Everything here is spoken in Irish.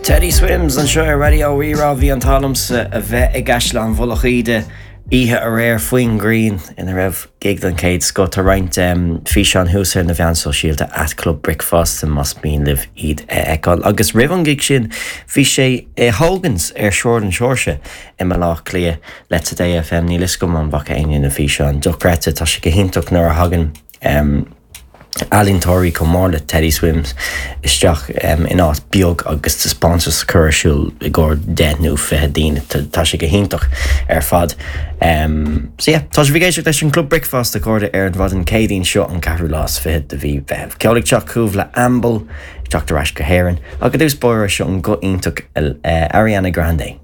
Teddy Swims anseo ar Raidió Rí-Rá. Bhí an t-ádh liomsa a bheith i gCaisleán Mhullach Íde oíche aréir faoin ngrian ina raibh gig den chéad scoth. Tá roinnt físeán thuas ar na mheáin sóisialta at Club Bricfeasta más mian libh iad a fheiceáil. Agus roimh an gig sin bhí sé i Hogan's ar Sráid an Seoirse i mBaile Átha Cliath le Today FM. Níl fhios agam an bhfaca éinne na físeáin. Dochreidte. Tá sé go hiontach nuair a thagann ealaíontóirí chomh mór le Teddy Swims isteach in áit beag agus taispeántas a chur ar siúl i gcomhair 10 nó 20 daoine. Tá sé go hiontach ar fad. So yeah, tá sibh ag éisteacht leis an Club Bricfeasta a chairde ar an mhaidin Céadaoin seo an ceathrú lá is fichead de mhí Mheithimh. Ceol ag teacht chugaibh le Amble ag teacht ar ais go hÉirinn ach i dtús báire seo an guth iontach Ariana Grande.